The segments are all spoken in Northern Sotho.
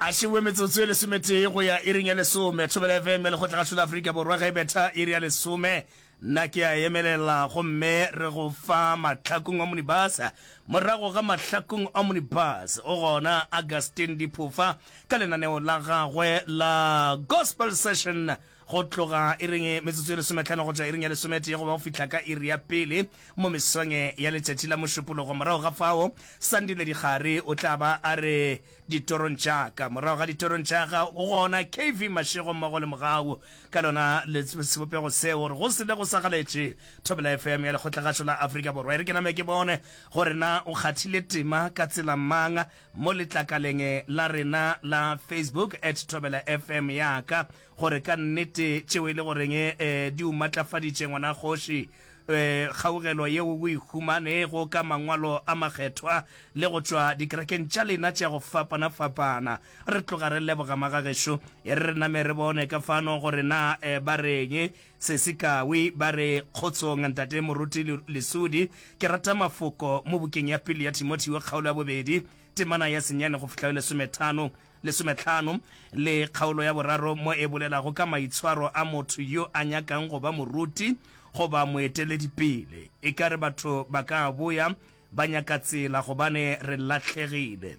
A šewe metsotso e lesometee go ya iring ya lesome. Thobela FM ya Lekgotlagašo la Afrika Borwa ge e betha iri ya lesome. Nna ke a emelela gomme re go fa Mahlakung Omnibus. Morago ga Mahlakung Omnibus o gona Augustine Diphofa ka lenaneo la gagwe la Gospel Session go tloga iring metsotso e lesometlhano go tšwa iring ya lesometee go ba go fihla ka iri ya pele mo mesong ya letšatši la Mošupologo. Morago ga fao, Sandile Dikgari o tla ba a re ditorong tša ka. Morago ga ditorong tša ga o gona KV Mashego mmogo le Mogau ka lona le sebopego seo gore go se le go sa galetše Thobela FM ya Lekgotlagašo la Afrika Borwa. E re ke name ke bone gore na o kgathile tema ka tsela mang mo letlakaleng la rena la Facebook at Thobela FM ya ka gore ka nnete tšeo e le goreng di o matlafaditše ngwana kgoši, kgaugelo yeo o e humanego ka mangwalo a makgethwa le go tšwa dikerekeng tša lena tša go fapana-fapana. Re tloga re leboga magagešo. E re re name re bone ka fano gore na ba reng. Sesi Kawi ba re, Kgotsong, Ntate Moruti Lesudi. Ke rata mafoko mo bukeng ya pele ya Timotheo kgaolo ya bobedi, temana ya senyane go fihla go lesomethano. Lesometlhano, le kgaolo ya boraro mo e bolelago ka maitshwaro a motho yo a nyakang go ba moruti goba moeteledipele. Ekare batho ba ka boya ba nyaka tsela gobane re lahlegile.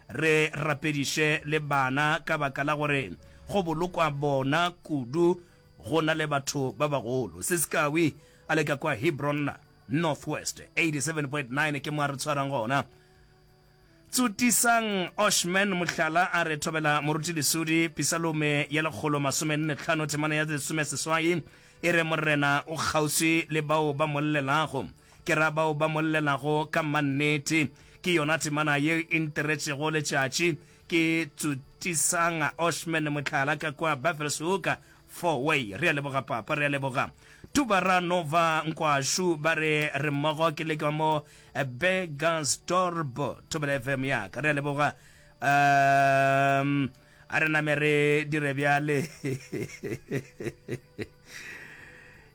Re rapediše le bana ka baka la gore go bolokwa bona kudu go na le batho ba bagolo. Sesikawi a le ka kwa Hebron North West 87.9 ke mo a re tshwarang gona. Tsotisang Oshman mohlala a re thobela Moruti Lesudi, Pisalome ya 145 temana ya 16 e re Morena o kgauswi le bao ba mo llelago, ke ra bao ba mo llelago ka mannete. Ke yona temana ye e ntiretšego letšatši. Ke Tsotisang Oshman mohlala ka kwa Buffelshoek Four-way. Re a leboga papa, re a leboga. Tubara Nova Nkwashu ba re re mmogo ke le ka mo Burgersdorp Thobela FM ya ka. Re a leboga. Um a re name re dire bjale.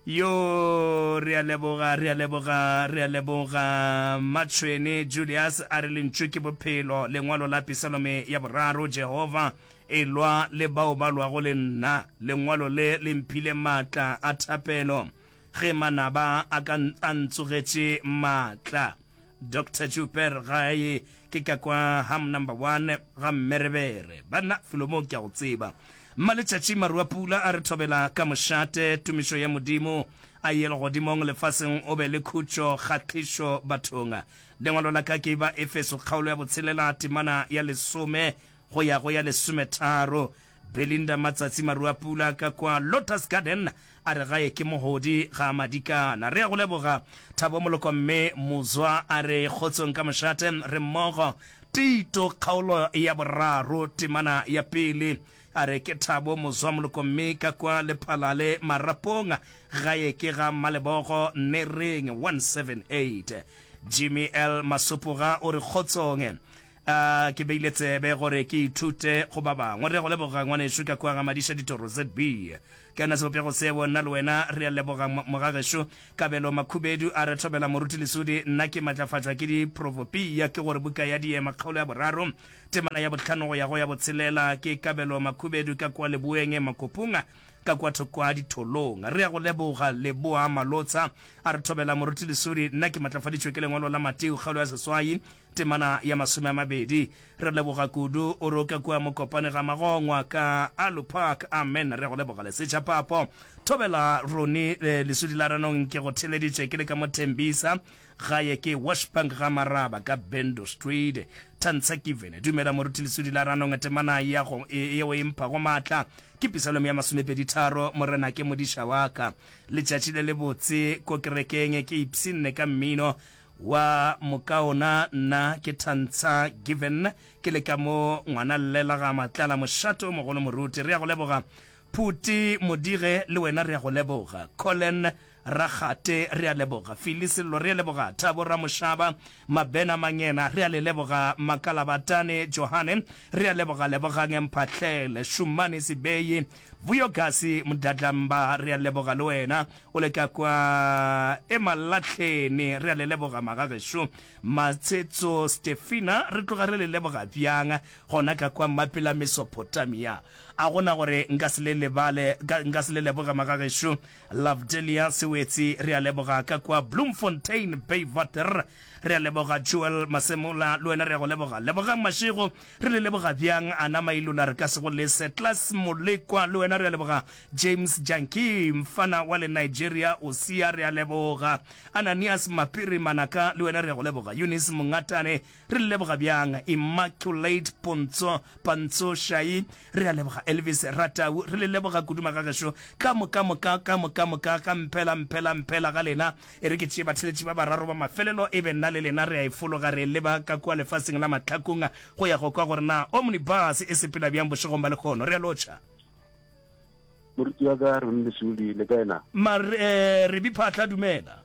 Yo re a leboga, re a leboga, re a leboga. Matšhwene Julius a re lentšu ke bophelo, lengwalo la Pisalome ya boraro, Jehova Elwa le bao ba lwago le nna. Lengwalo le le mphile maatla a thapelo ge manaba a ka a ntsogetše maatla. Doctor Joubert gae ke ka kwa Ham Number One ga Mmerebere. Banna, felo mo ke a go tseba. Mmaletšatši Maruapula a re thobela ka mošate, tumišo ya Modimo a ye legodimong, lefaseng o be le khutšo, kgahlišo bathong. Lengwalo la ka ke ba Efeso kgaolo ya botshelela temana ya lesome go ya go ya lesometharo. Belinda Matsatsi Maruapula ka kwa Lotus Garden a re gae ke mohodi ga Madikana. Re a go leboga Thabo Moloko mme Mozwa a re kgotsong ka mošate re mmogo. Tito kgaolo ya boraro temana ya pele a re ke Thabo Mozwa Moloko mme ka kwa Lephalale Marapong gae ke ga Mmalebogo Nereng 178. Jimmy L Masopoga o re kgotsong A ke beile tsebe gore ke ithute go ba bangwe. Re a go leboga ngwanešu ka kua ga Madiša Ditoro ZB. Ke yona sebopego seo nna le wena re a leboga mogagešo Kabelo Makhubedu a re thobela Moruti Lesudi nna ke matlafatšwa ke diprovopia ke gore buka ya Diema kgaolo ya boraro temana ya bohlano go ya go ya botshelela ke Kabelo Makhubedu ka kua Leboeng Makopung ka kua thoko ga Ditholong. Re a go leboga Leboa Malotsa a re thobela Moruti Lesudi nna ke matlafaditšwe ke lengwalo la Mateo kgaolo ya seswai Temana ya masomeamabedi. Re leboga kudu. O roka kua Mokopane ga Magongwa ka Aloe Park. Amen. Re go leboga Lesetša Papo. Thobela Roni Lesudi la Ranong ke go theleditše ke le ka mo Tembisa. Gae ke Washbank ga Maraba ka Bendo Street. Tantsha Given. Dumela Moruti Lesudi la Ranong temana ya go yeo e mphago maatla ke Pisalome ya masomepeditharo Morena ke modiša wa ka. Letšatši le lebotse ko kerekeng ke ipshinne ka mmino Wa mokaona nna ke Tantsha Given ke le ka mo ngwana llela ga Matlala mošate o mogolo moruti re ya go leboga Phuti Modige le wena re ya go leboga Colin. Rakgate, re a leboga. Philly Sello, re a leboga. Thabo Ramoshaba, Mabena Mangena, re a le leboga. Makalabatane Johane, re a leboga. Lebogang Mphahlele, Shumani Sibeyi, Vuyo Gasi Mdadlamba, re a leboga le wena. O le ka kwa Emalahleni, re a le leboga magagešo. Matshetso Stefina, re tloga re le leboga bjang gona ka kwa Mapela Mesopotamia. A gona gore nka se le lebale, nka se le leboge magagešo. Lovedelia Sewetsi, re a leboga ka kwa Bloemfontein, Baywater. Re a leboga Joel Masemola, le wena re a go leboga. Lebogang Mashego, re le leboga bjang. Ana Mailula, re ka se go lese. Klaas Molekwa, le wena re a leboga. James Jankie, mfana wa le Nigeria, Osia, re a leboga. Ananias Mapiri Manaka, le wena re a go leboga. Eunice Mongatane, Re le leboga bjang. Immaculate Pontso, Pantso Shai, re a leboga. Elvis Ratau, re le leboga kudu magagešo. Ka moka moka, ka moka moka, ga mphela, mphela, mphela ga lena. E re ke tšee batheletši ba bararo ba mafelelo, e be nna le lena re a e fologa re e leba ka kua lefaseng la mahlakong go ya go kwa gore na Omnibus e sepela bjang bošegong ba lehono. Re a lotšha. Moruti wa ka, Ronnie Lesuli, le kae na? Mar, eh, Rebi Phatla, dumela.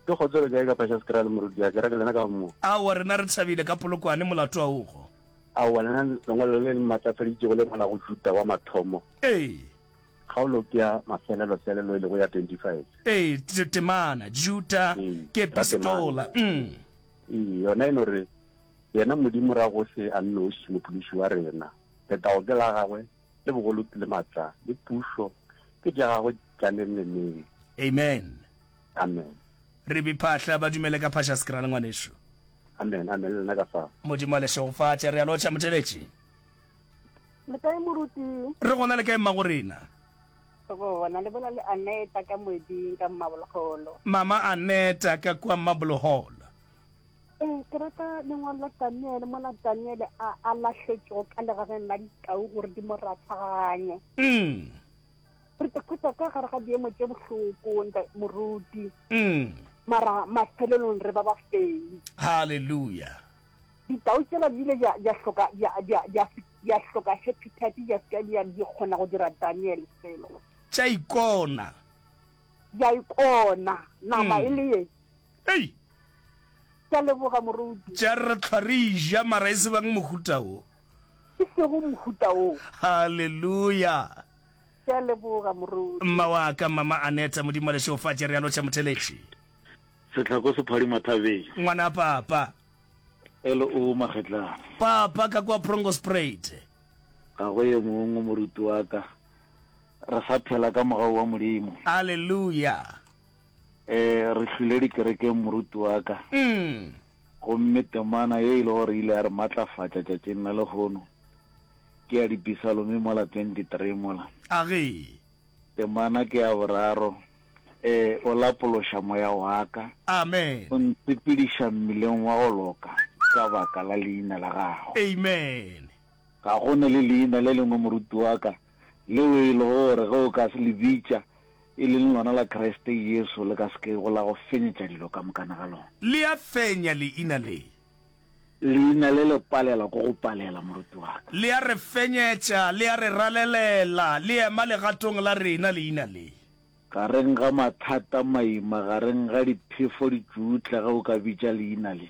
Ke kgotso le kae ka Pashaskral moruti a kereke lena ka mo. Aowa rena re thabile ka Polokwane molato a ogo. Aowa lena lengwalo le le matlafaditšego le ngwala go Juda wa mathomo. Ee. Kgaolo ke ya mafelelo-felelo e lego ya 25. Ee, temana, Juda ke epistola. Mm. Ee, yona e no re, Yena Modimo ra gohle a nnoši, Mophološi wa rena. Letago ke la gagwe, le bogolo le matla, le pušo ke tša gagwe tša neng le neng. Amen. Amen. Re be phahla ba dumele ka Phashaskral ngwanešu. Amen, amen le nna ka fao. Modimo a le šegofatše. Re a lotšha motheletši. Le kae moruti? Re gona le kae mmago rena? Re gona le bola le Aneta ka moeding ka Mmaboloholo. Mama Aneta ka kua Mmaboloholo. Ee, ke rata lengwalo la Daniele mola Daniele a, a lahletšego ka legageng la ditau gore di mo rathaganye. Mm. Re tla khutsa ka gare ga diemo tše bohloko, nta moruti. Mm. Mara mafelelong re ba bafenyi. Hallelujah. Ditau tšela di ile dia hloka dia dia dia dia hloka appetite dia se dia di kgona go dira Daniel selo. Tša ikona. Dia ikona nama e le ye. Ei. Ke a leboga moruti. Tša re hlwa re ja mara e se bang mohuta wo. E sego mohuta wo. Hallelujah. Ke a leboga moruti. Mma wa ka mama Aneta Modimo a le šegofatše re a lotšha motheletši. Sehlako se phadima thabeng. Ngwana papa. LO Magetlane. Papa ka kwa Prongospruit. Ga go ye mongwe moruti wa ka. Re sa phela ka mogau wa Modimo. Hallelujah. Eh, re hlwile dikerekeng moruti wa ka. Mm. Gomme temana ye e le gore ile ya re matlafatša tšatšing la lehono ke ya Dipisalome mola 23 mola. A ge. Temana ke ya boraro. Eh, o lapološa moya wa ka. Amen. O ntsepediša mmileng wa go loka ka baka la leina la gago. Amen. Ga go na le leina le lengwe moruti wa ka leo e lego gore ge o ka le bitša e leng lona la Kriste Jesu, le ka se kego la go fenyetša dilo ka mokana ga lona. Le a fenya leina le. Leina le le palela ko go palela, moruti wa ka. Le a re fenyetša, le a re ralelela, le ema legatong la rena, leina le. Gareng ga mathata, maima, gareng ga diphefo ditšutla, ge o ka bitša leina le.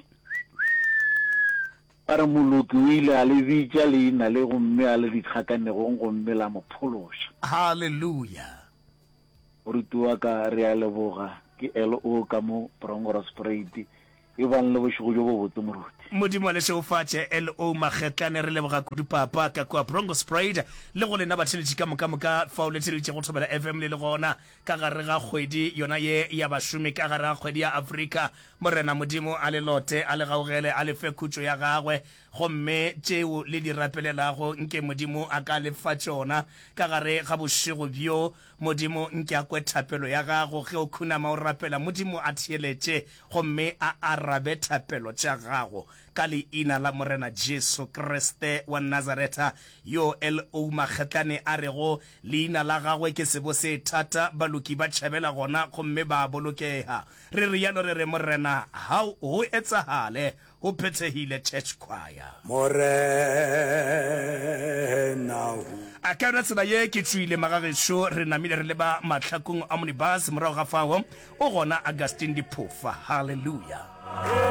Ba re moloki o ile a le bitša leina le gomme a le dikgakanegong gomme la mo phološa. Haleluya! Moruti wa ka, re a leboga. Ke LO ka mo Bronkhorstspruit. Ebang le bošego bjo bobotse, moruti. Modimo a le šegofatše, LO Magetlane. Re leboga kudu, Papa, ka kua Bronkhorstspruit, le go lena batheeletši ka moka moka fao le theeleditšego Thobela FM le le gona ka gare ga kgwedi yona ye ya bašomi, ka gare ga kgwedi ya Afrika. Morena Modimo a le lote, a le gaugele, a le fe khutšo ya gagwe, gomme tšeo le di rapelelago, nke Modimo a ka le fa tšona ka gare ga bošego bjo. Modimo nke a kwe thapelo ya gago ge o khunama o rapela, Modimo a theeletše gomme a arabe thapelo tša gago. Ka Leina la Morena Jesu Kriste wa Nazaretha, yo L.O. Magetlane a rego, Leina la Gagwe ke sebo se thata, baloki ba tšhabela gona gomme ba a bolokega. Re rialo re re, Morena, how go etsagale, go phethegile. Church Choir. Morena o. Ka yona tsela ye ke tšwile magagešo, re namile re leba mahlakong a Omnibus, morago ga fao o gona Augustine Diphofa. Hallelujah.